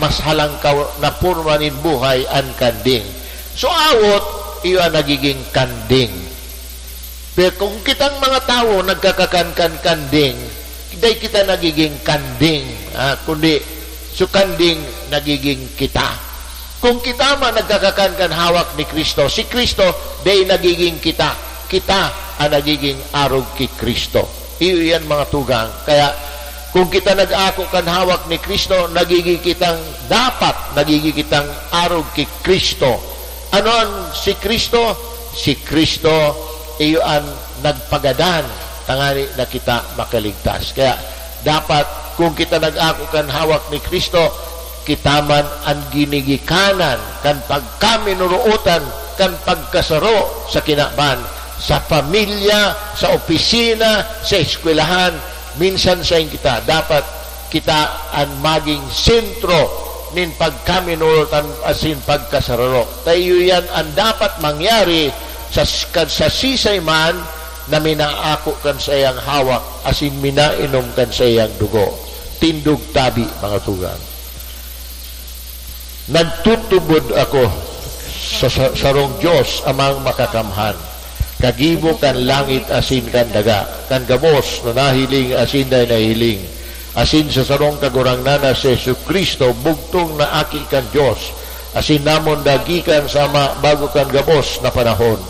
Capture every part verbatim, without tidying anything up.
mas halangkaw na porma nin buhay an kanding. So, awot, iyo an nagiging kanding. Pero kung kitang mga tawo nagkakakan kan kanding, dai kita nagiging kanding, ah, kundi so kanding nagiging kita. Kung kita man nagkakakan kan hawak ni Cristo, si Cristo dai nagiging kita. Kita ang nagiging arog ki Cristo. Iyo yan, mga tugang. Kaya, kung kita nag-ako kan hawak ni Cristo, nagiging kitang, dapat nagiging kitang arog ki Cristo. Ano an si Cristo? Si Cristo, iyo an nagpagadan, tangani na kita makaligtas. Kaya, dapat, kung kita nag-ako kan hawak ni Cristo, kita man an ginigikanan kan pagkaminorootan, kan pagkasaro sa kinaban, sa pamilya, sa opisina, sa eskwelahan. Minsan sain kita, dapat kita an maging sentro nin pagkaminorootan asin pagkasararo. Ta iyo yan an dapat mangyari sa, sa sisay man na minaako kan saiyang hawak asin minainom kan saiyang dugo. Tindog tabi, mga tugang. Nagtutubod ako sa, sa sarong Dios, Amang Makakamhan, kagibo kan langit asin kan daga, kan gabos na nahiling asin dai nahiling, asin sa sarong Kagurangnan na si Jesu-Cristo, bugtong na Aki kan Dios, asin namon na gikan sa Ama bago kan gabos na panahon.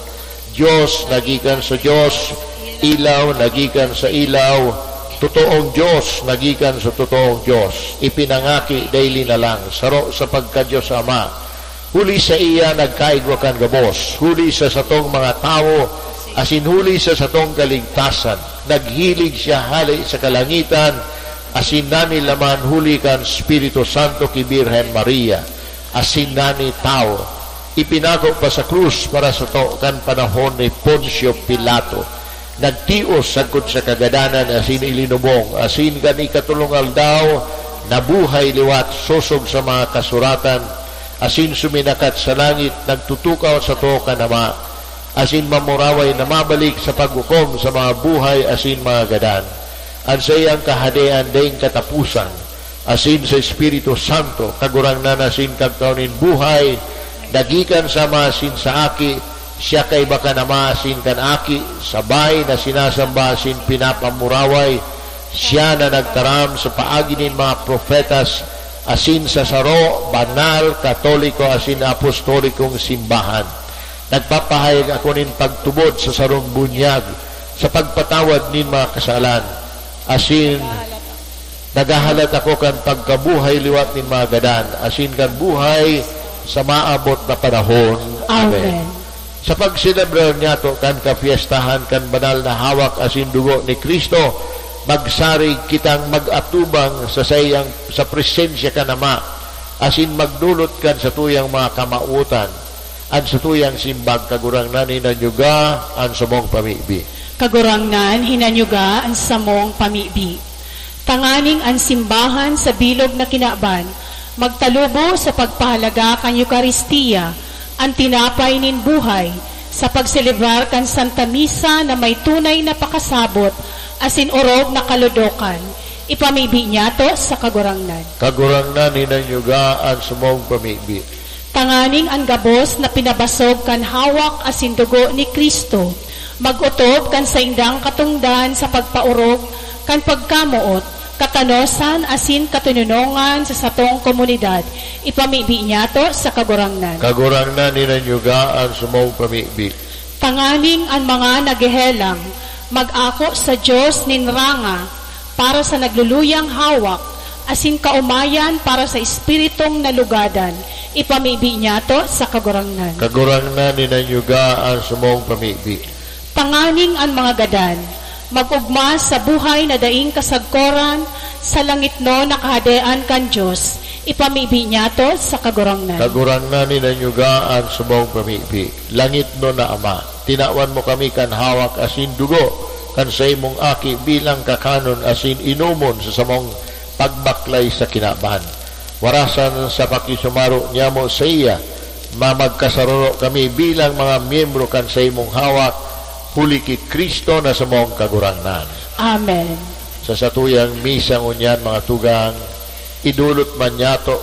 Dios na gikan sa Dios, ilaw na gikan sa ilaw, totoong Dios na gikan sa totoong Dios, ipinangaki dai linalang, saro sa pagka-Dios Ama. Huli saiya nagkaigwa kan gabos, huli sa satong mga tawo, asin huli sa satong kaligtasan. Naghilig siya hale sa kalangitan, asin nanilaman huli kan Espiritu Santo ki Birhen Maria, asin nani tawo. Ipinako pa sa krus para sato kan panahon ni Poncio Pilato. Nagtios sagkod sa kagadanan asin ilinubong, asin kan ikatolong aldaw, nabuhay liwat sosog sa mga kasuratan, asin suminakat sa langit, nagtutukaw sato kan Ama, asin mamuraway na mabalik sa paghukom sa mga buhay asin mga gadan. An saiyang kahadean daing kataposan, asin sa Espiritu Santo, Kagurangnan asin Kagtao nin buhay, na gikan sa Ama asin sa Aki, siya kaiba kan Ama asin kan Aki, sabay na sinasamba asin pinapamuraway, siya na nagtaram sa paagi nin mga propetas, asin sa saro, banal, katoliko, asin apostolikong simbahan. Nagpapahayag ako nin pagtubod sa sarong bunyag, sa pagpatawad nin mga kasalan, asin naghahalat ako kan pagkabuhay liwat nin mga gadan, asin kan buhay sa maabot na panahon. Amen. Amen. Sa pagselebrar niyato kan kapyestahan kan banal na hawak asin dugo ni Cristo, magsarig kitang mag-atubang sa saiyang, sa presensya kan Ama, asin magdolot kan satuyang mga kamawotan. An satuyang simbag, Kagurangnan, hinanyuga an samong pamibi. Kagurangnan, hinanyuga an samong pamibi. Tanganing an simbahan sa bilog na kinaban magtalubo sa pagpahalaga kan Eukaristia, an tinapay nin buhay, sa pagselebrar kan Santa Misa na may tunay na pakasabot asin orog na kalodokan. Ipamibi niyato sa Kagurangnan. Kagurangnan, hinanyuga an samong pamibi. Tanganing an gabos na pinabasog kan hawak asin dugo ni Cristo mag-otob kan saindang katongdan sa pagpaorog kan pagkamoot, katanosan asin katononongan sa satong komunidad. Ipamibi niyato sa Kagurangnan. Kagurangnan, hinanyuga an samong pamibi. Tanganing an mga naghehelang mag-ako sa Dios nin ranga para sa nagluluyang hawak, asin kaomayan para sa espiritong nalugadan, ipamibi niyato sa Kagurangnan. Kagurangnan, hinanyuga an samong pamibi. Tanganing an mga gadan mag-ogma sa buhay na daing kasagkoran sa langitnon na Kahadean kan Dios, ipamibi niyato sa Kagurangnan. Kagurangnan, hinanyuga an samong pamibi. Langitnon na Ama, tinawan mo kami kan hawak asin dugo kan saimong Aki bilang kakanon asin inomon sa samong pagbaklay sa kinaban. Warasan sa pakisumaro niyamo saiya, mamagkasararo kami bilang mga miyembro kan saimong hawak, huli ki Cristo na samong Kagurangnan. Amen. Sa satuyang misa ngunyan, mga tugang, idolot man niyato